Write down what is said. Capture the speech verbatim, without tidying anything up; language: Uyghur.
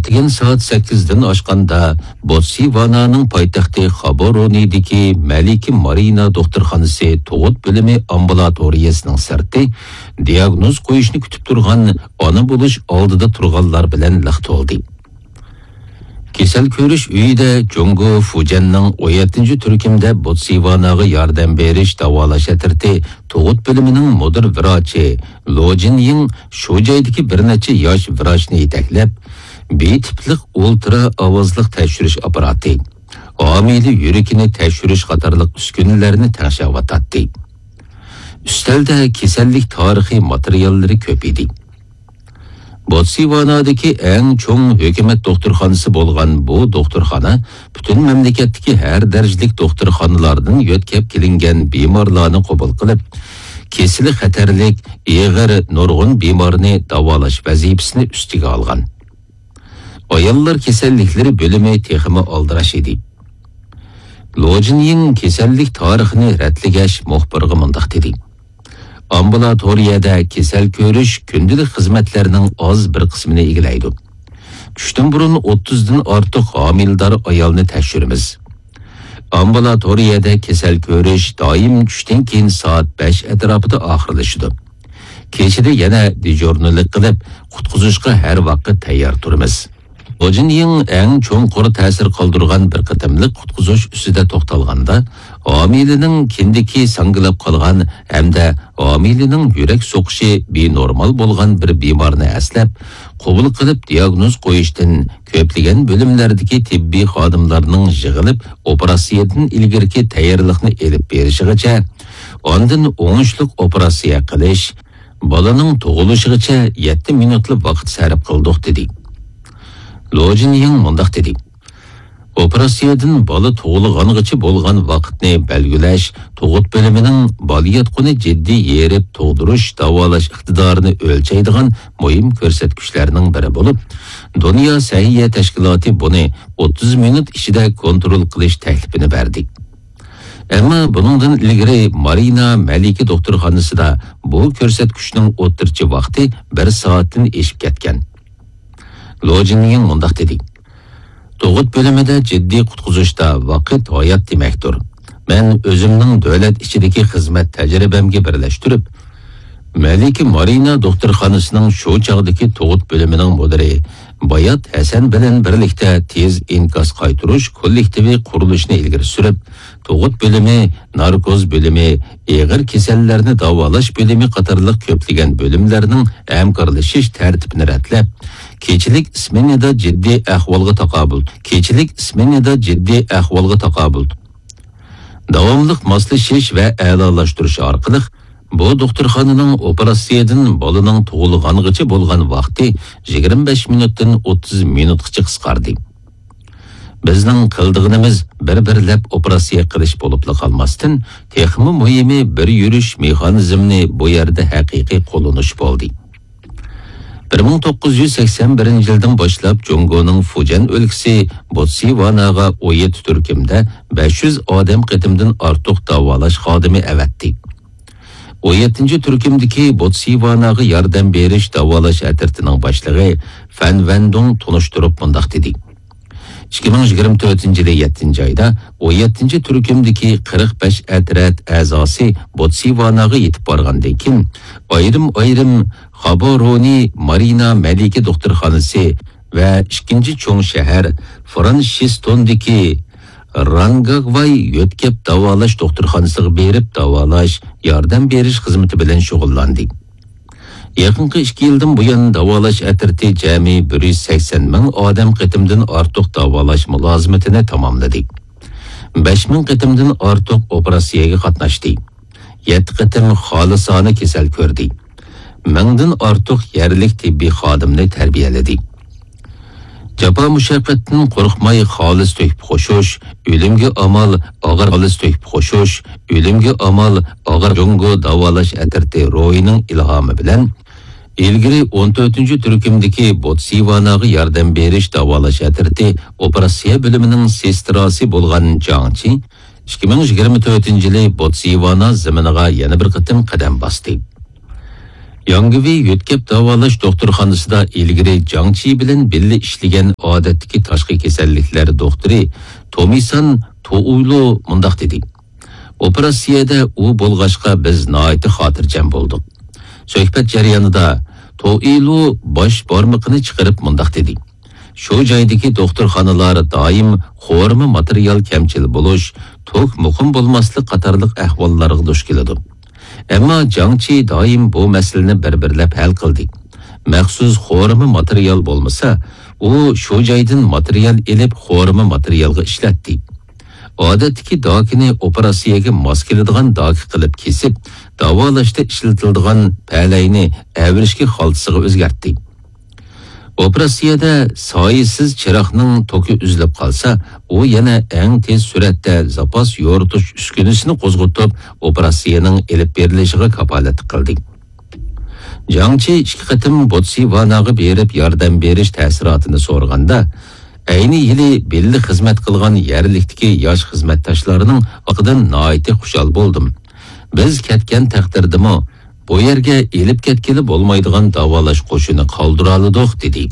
كېيىن سائەت سەككىزدىن ئاشقاندا، بوتسۋانانىڭ پايتەختى خابورونىدىكى مەلىكە مارىنا دوختۇرخانىسى تۇغۇت بۆلۈمى ئامبۇلاتورىيەسىنىڭ سىرتى دىياگنوز قويۇشنى كۈتۈپ تۇرغان ئانا بولۇش ئالدىدا تۇرغانلار بىلەن لىق تولدى. كېسەل كۆرۈش ئۆيىدە جۇڭگو فۇجيەننىڭ ئون يەتتىنچى تۈركۈمدە بوتسۋاناغا ياردەم بېرىش داۋالاش ئەترىتى تۇغۇت بۆلۈمىنىڭ مۇدىر ۋراچى لو جىنيىڭ شۇ جايدىكى بىر نەچچە ياش ۋراچنى يېتەكلەپ، بى تىپلىق ئۇلترا ئاۋازلىق تەكشۈرۈش ئاپپاراتى، ھامىلە يۈرىكىنى تەكشۈرۈش قاتارلىق ئۈسكۈنىلەرنى تەڭشەۋاتاتتى. ئۈستەلدە كېسەللىك تارىخى ماتېرىياللىرى كۆپ ئىدى. بوتسۋانادىكى ئەڭ چوڭ ھۆكۈمەت دوختۇرخانىسى بولغان بۇ دوختۇرخانا پۈتۈن مەملىكەتتىكى ھەر دەرىجىلىك دوختۇرخانىلاردىن يۆتكەپ كېلىنگەن بىمارلارنى قوبۇل قىلىپ، كېسىلى خەتەرلىك، ئېغىر نۇرغۇن بىمارنى داۋالاش ۋەزىپىسىنى ئۈستىگە ئالغان. ئاياللار كېسەللىكلىرى بۆلۈمى تېخىمۇ ئالدىراش ئىدى. لو جىنيىڭ كېسەللىك تارىخىنى رەتلىگەچ، مۇخبىرغا مۇنداق دېدى: ئامبۇلاتورىيەدە كېسەل كۆرۈش كۈندىلىك خىزمەتلەرنىڭ ئاز بىر قىسمىنى ئىگىلەيدۇ. چۈشتىن بۇرۇن ئوتتۇزدىن ئارتۇق ھامىلىدار ئايالنى تەكشۈرىمىز. ئامبۇلاتورىيەدە كېسەل كۆرۈش دائىم چۈشتىن كېيىن سائەت بەش ئەتراپىدا ئاخىرلىشىدۇ. كېچىدە يەنە دېژۇرنىلىق قىلىپ، قۇتقۇزۇشقا ھەر ۋاقىت تەييار تۇرىمىز. لو جىنيىڭ ئەڭ چوڭقۇر تەسىر قالدۇرغان بىر قېتىملىق قۇتقۇزۇش ئۈستىدە توختالغاندا، ھامىلىنىڭ كىندىكى ساڭگىلاپ قالغان ھەمدە ھامىلىنىڭ يۈرەك سوقۇشى بىنورمال بولغان بىر بىمارنى ئەسلەپ، قوبۇل قىلىپ دىياگنوز قويۇشتىن، كۆپلىگەن بۆلۈملەردىكى تېببىي خادىملارنىڭ يىغىلىپ ئوپېراتسىيەدىن ئىلگىرىكى تەييارلىقنى ئېلىپ بېرىشىغىچە، ئاندىن ئوڭۇشلۇق ئوپېراتسىيە قىلىش، بالىنىڭ تۇغۇلۇشىغىچە يەتتە مىنۇتلا ۋاقىت سەرپ قىلدۇق، دېدى. لو جىنيىڭ مۇنداق دېدى: ئوپېراتسىيەدىن بالا تۇغۇلغانغىچە بولغان ۋاقىتنى بەلگىلەش تۇغۇت بۆلۈمىنىڭ بالىياتقۇنى جىددىي يېرىپ تۇغدۇرۇش داۋالاش ئىقتىدارىنى ئۆلچەيدىغان مۇھىم كۆرسەتكۈچلەرنىڭ بىرى بولۇپ، دۇنيا سەھىيە تەشكىلاتى بۇنى ئوتتۇز مىنۇت ئىچىدە كونترول قىلىش تەكلىپىنى بەردى. ئەمما بۇنىڭدىن ئىلگىرى مارىنا مەلىكە دوختۇرخانىسىدا بۇ كۆرسەتكۈچنىڭ ئوتتۇرىچە ۋاقتى بىر سائەتتىن ئېشىپ كەتكەن. لو جىنيىڭ مۇنداق دېدى: تۇغۇت بۆلۈمىدە جىددىي قۇتقۇزۇشتا ۋاقىت ھايات دېمەكتۇر. مەن ئۆزۈمنىڭ دۆلەت ئىچىدىكى خىزمەت تەجرىبەمگە بىرلەشتۈرۈپ، مەلىكە مارىنا دوختۇرخانىسىنىڭ شۇ چاغدىكى تۇغۇت بۆلۈمىنىڭ مۇدىرى بايات ھەسەن بىلەن بىرلىكتە تېز ئىنكاس قايتۇرۇش كوللېكتىۋى قۇرۇلۇشىنى ئىلگىرى سۈرۈپ، تۇغۇت بۆلۈمى، ناركوز بۆلۈمى، ئېغىر كېسەللەرنى داۋالاش بۆلۈمى قاتارلىق كۆپلىگەن بۆلۈملەرنىڭ ھەمكارلىشىش تەرتىپىنى رەتلەپ، كېچىلىك سمېنىدا جىددىي ئەھۋالغا تاقابىل، كېچىلىك سمېنىدا جىددىي ئەھۋالغا تاقابىل داۋاملىق ماسلىشىش ۋە ئەلالاشتۇرۇش ئارقىلىق، بۇ دوختۇرخانىنىڭ ئوپېراتسىيەدىن بالىنىڭ تۇغۇلغانغىچە بولغان ۋاقتى يىگىرمە بەش مىنۇتتىن ئوتتۇز مىنۇتقىچە قىسقاردى. بىزنىڭ قىلىدىغىنىمىز بىر-بىرلەپ ئوپېراتسىيە قىلىش بولۇپلا قالماستىن، تېخىمۇ مۇھىمى بىر يۈرۈش مېخانىزمنى بۇ يەردە ھەقىقىي قوللىنىش بولدى. بىر مىڭ توققۇز يۈز سەكسەن بىرىنچى يىلدىن باشلاپ جۇڭگونىڭ فۇجيەن ئۆلكىسى بوتسۋاناغا ئون يەتتە تۈركۈمدە بەش يۈز ئادەم قېتىمدىن ئارتۇق داۋالاش خادىمى ئەۋەتتى. ئون يەتتىنچى تۈركۈمدىكى بوتسۋاناغا ياردەم بېرىش داۋالاش ئەترىتىنىڭ باشلىقى فەن ۋەندۇڭ تونۇشتۇرۇپ مۇنداق دېدى: ئىككى مىڭ يىگىرمە تۆتىنچى يىلى يەتتىنچى ئايدا ئون يەتتىنچى تۈركۈمدىكى قىرىق بەش ئەترەت ئەزاسى بوتسۋاناغا يېتىپ بارغاندىن كېيىن، ئايرىم-ئايرىم خابورونى مارىنا مەلىكە دوختۇرخانىسى ۋە ئىككىنچى چوڭ شەھەر فرانشىستوندىكى رانگاگۋاي يۆتكەپ داۋالاش دوختۇرخانىسىغا بېرىپ داۋالاش، ياردەم بېرىش خىزمىتى بىلەن شۇغۇللاندى. يېقىنقى ئىككى يىلدىن بۇيان داۋالاش ئەترىتى جەمئىي بىر يۈز سەكسەن مىڭ ئادەم قېتىمدىن ئارتۇق داۋالاش مۇلازىمىتىنى تاماملىدى. بەش مىڭ قېتىمدىن ئارتۇق ئوپېراتسىيەگە قاتناشتى. يەتتە قېتىم خالىسانە كېسەل كۆردى. مىڭدىن ئارتۇق يەرلىك تېببىي خادىمنى تەربىيەلىدى. جاپا مۇشەققەتتىن قورقماي خالىس تۆھپە قوشۇش، ئۆلۈمگە ئامال، ئاغىر خالىس تۆھپە قوشۇش، ئۆلۈمگە ئامال، ئاغىر جۇڭگو داۋالاش ئەترىتى روھىنىڭ ئىلھامى بىلەن، ئىلگىرى ئون تۆتىنچى تۈركۈمدىكى بوتسۋاناغا ياردەم بېرىش داۋالاش ئەترىتى ئوپېراتسىيە بۆلۈمىنىڭ سېستراسى بولغان جاڭ چى ئىككى مىڭ يىگىرمە تۆتىنچى يىلى بوتسۋانا زېمىنىغا يەنە بىر قېتىم قەدەم باستى. ياڭگۋېي يۆتكەپ داۋالاش دوختۇرخانىسىدا ئىلگىرى جاڭچى بىلەن بىللە ئىشلىگەن ئادەتتىكى تاشقى كېسەللىكلەر دوختۇرى تومىسان توئۇيلۇ مۇنداق دېدى: «ئوپېراتسىيەدە ئۇ بولغاچقا، بىز ناھايىتى خاتىرجەم بولدۇق.» سۆھبەت جەريانىدا توئىلۇ باش بارمىقىنى چىقىرىپ مۇنداق دېدى: «شۇ جايدىكى دوختۇرخانىلار دائىم قورۇما ماتېرىيال كەمچىل بولۇش، توك مۇقىم بولماسلىق قاتارلىق ئەھۋاللارغا دۇچ كېلىدۇ. ئەمما جاڭچى دائىم بۇ مەسىلىنى بىر-بىرلەپ ھەل قىلدى. مەخسۇس قورۇما ماتېرىيال بولمىسا، ئۇ شۇ جايدىن ماتېرىيال ئېلىپ، قورۇما ماتېرىيالغا ئىشلەتتى. ئادەتتىكى داكىنى ئوپېراتسىيەگە ماس كېلىدىغان داكا قىلىپ كېسىپ، داۋالاشتا ئىشلىتىلىدىغان پەلەينى ئەۋرىشكە خالتىسىغا ئۆزگەرتتى. ئوپېراتسىيەدە سايىسىز چىراغنىڭ توكى ئۈزۈلۈپ قالسا، ئۇ يەنە ئەڭ تېز سۈرئەتتە زاپاس يورۇتۇش ئۈسكۈنىسىنى قوزغىتىپ، ئوپېراتسىيەنىڭ ئېلىپ بېرىلىشىغا كاپالەتلىك قىلدى.» جاڭچى ئىككى قېتىم بوتسۋاناغا بېرىپ ياردەم بېرىش تەسىراتىنى سورىغاندا، ئەينى يىلى بىللە خىزمەت قىلغان يەرلىكتىكى ياش خىزمەتداشلارنىڭ ئاقىدىن ناھايىتى خۇشال بولدۇم. «بىز كەتكەن تەقدىردىمۇ، بۇ يەرگە ئېلىپ كەتكىلى بولمايدىغان داۋالاش قوشۇنى قالدۇرالىدۇق» دېدى.